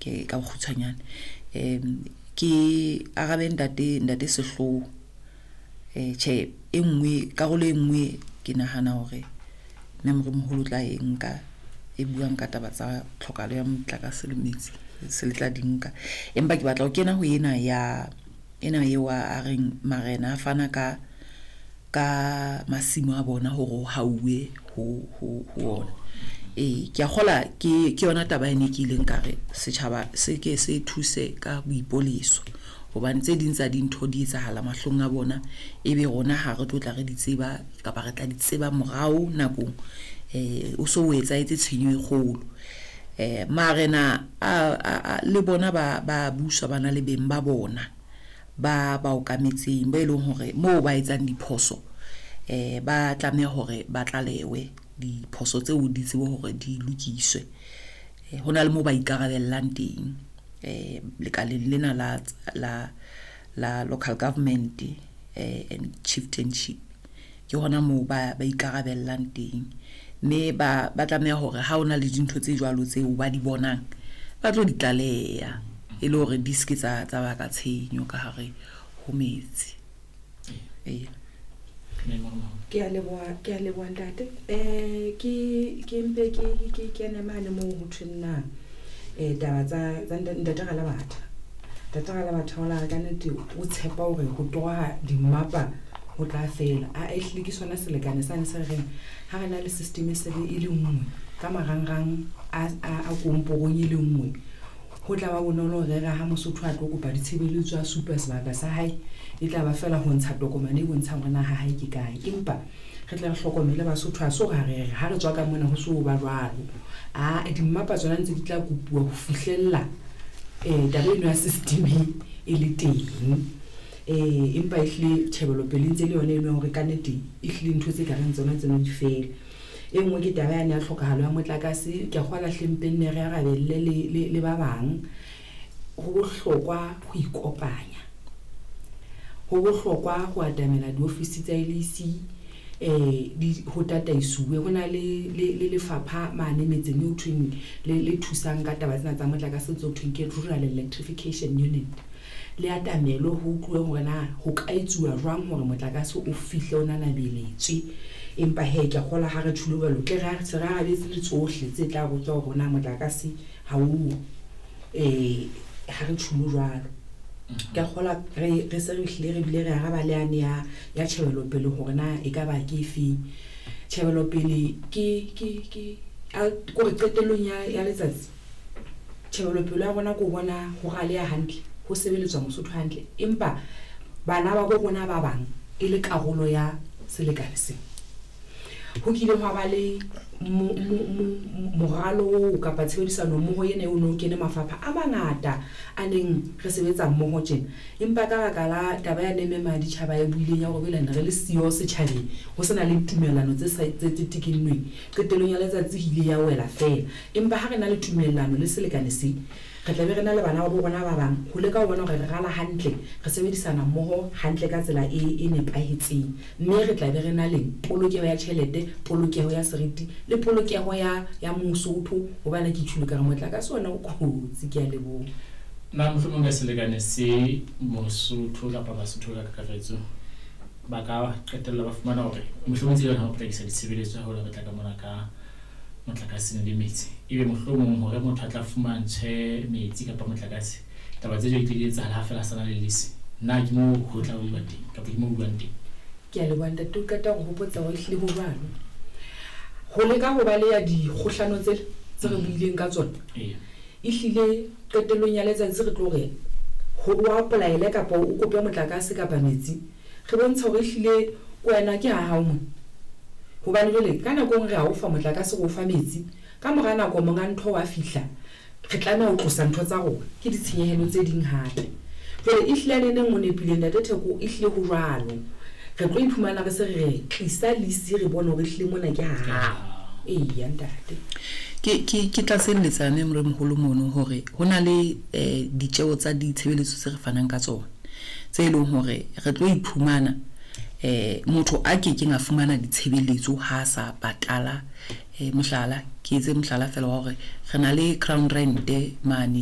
Ke ka bokgutshwanyane. Ke arabe ntate ntate Sehloho. Tjhe e nngwe karolo e nngwe ke nahana hore mme moremoholo o tla e nka e buang ka taba tsa tlhokahalo ya motlakase le metsi se le tla di nka. Empa ke batla ho kena ho ena ya ena eo a reng marena a fana ka ka masimo a bona hore ho hauwe ho ho ho ona. Ee, ke a kgola ke ke yona taba ene ke ileng ka re setjhaba se ke se thuse ka boipoleso hobane tse ding tsa dintho di etsahala mahlong a bona ebe rona ha re tlo tla re di tseba kapa re tla di tseba morao nakong o so o etsahetse tshenyo e kgolo. Marena a le bona ba ba buswa ba na le beng ba bona ba ba okametseng ba e leng hore moo ba etsang diphoso ba tlameha hore ba tlalewe diphoso tseo di tsebe hore di lokiswe. Ho na le moo ba ikarabellang teng lekaleng lena la la la local government and chieftainship. Ke hona moo ba ba ikarabellang teng mme ba ba tlameha hore ha hona le dintho tse jwalo tseo ba di bonang ba tlo di tlaleha e le hore di ske tsa tsa baka tshenyo ka hare ho metsi. Ee. Ke a leboha, ke a leboha ntate. Ke ke mpe ke ke kene mane moo ho thweng na taba tsa tsa ntate Ralabatha. Ntate Ralabatha o la re ka nnete o tshepa hore ho toroha dimmapa ho tla fela. A ehlile ke sona selekane sane se re reng ha re na le system e se le e le nngwe ka marangrang a a komporong e le nngwe. Ho tla ba bonolo hore re ha Mosotho a tlo kopa ditshebeletso a supa sebaka sa hae, e tla ba fela ho ntsha tokomane e bontshang hore na ha hae ke kae. Empa re tle re hlokomele Basotho ha se hore ha re re ha re tswa ka mona ho so ba jwalo. Aa dimmapa tsona ntse di tla kopuwa ho fihlella taba eno ya system e le teng. Empa ehlile tjhebelopele e ntse le yona eno ya hore kannete ehlile ntho tse kareng tsona tseno di fele. E nngwe ke taba yane ya tlhokahalo ya motlakase. Ke a kgola hle mpe nne re arabelle le, le, le ba bang. Ho bohlokwa ho ikopanya. Ho bohlokwa ho atamela diofisi tsa LEC di ho tataisuwe. Ho na le, le, le lefapha mane metseng eo thweng le, le thusang ka taba tsena tsa motlakase tse ho thweng ke Rural Electrification Unit. Le atamelwe ho utluwe hore na ho ka etsuwa jwang hore motlakase o fihle o nanabeletswe. Empa hee ke a kgolwa ha re tjholo jwalo tle re se re arabetse le tsohle tse tla botswa hore na motlakase ha o ha re tjholo jwalo. Ke a kgolwa re re se re hlile re bile re araba le yane ya ya tjhebelopele hore na e ka ba ke efeng. Tjhebelopele ke ke ke kore qetellong ya ya letsatsi tjhebelopele ya rona ke ho bona ho raleha hantle, ho sebeletswa Mosotho hantle. Empa bana ba bo rona ba bang e le karolo ya selekane sena. Ho kile hwa ba le moralo oo kapa tshebedisano mmoho ena eo no kene mafapha a mangata a neng re sebetsa mmoho tjena. Empa ka baka la taba yane mme Maditjhaba e buileng ya hore jwale ne re le siyo setjhabeng, ho sena le tumellano tse sa tse tse tekennweng. Qetellong ya letsatsi e ile ya wela feela. Empa ha re na le tumellano le selekane se, re tla be re na le bana ba bo rona ba bang ho leka ho bona hore re rala hantle, re sebedisana mmoho hantle ka tsela e e nepahetseng. Mme re tla be re na le polokeho ya tjhelete, polokeho ya seriti le polokeho ya ya Mosotho hobane ke tjhulo ka re motlakase ona o kotsi. Ke a leboha. Na mohlomong ka selekane se Mosotho kapa Basotho ka kakaretso ba ka qetella ba fumana hore mohlomong tsela yona ho potlakisa ditshebeletso haholo re tla ka mona ka motlakase le metsi, ebe mohlomong hore motho a tla fumantshwe metsi kapa motlakase, taba tse jwalo di tle di etsahala ha feela a sa na le lease. Na ke moo ho tla uwa teng kapa ke moo ho buang teng? Ke a leboha ntate o qeta ho hopotsa hore ehlile ho jwalo. Ho leka ho baleha dikgohlano tsele tse re buileng ka tsona. Ehlile qetellong ya letsatsi re tlo re ho o apply-ele kapa o kope motlakase kapa metsi, re bontshe hore ehlile ke wena ke ha hao mona. Hobane jwale ka nako e nngwe re a o fa motlakase re o fa metsi, ka mora nako monga ntho wa fihla re tlameha ho tlosa ntho tsa rona, ke ditshenyehelo tse ding hape. Jwale ehlile a neneng o nepile ntate Theko ehlile ho jwalo. Re tlo iphumana re se re re tlisa lease re bone hore ehlile mona ke ha hao. Eya ntate. Ke ke ke tlatselletsa mme moremoholo mono hore ho na le ditjeo tsa ditshebeletso tse re fanang ka tsona tse leng hore re tlo iphumana motho a kekeng a fumana ditshebeletso ha a sa patala. Mohlala, ke etse mohlala feela wa hore re na le ground rent mane.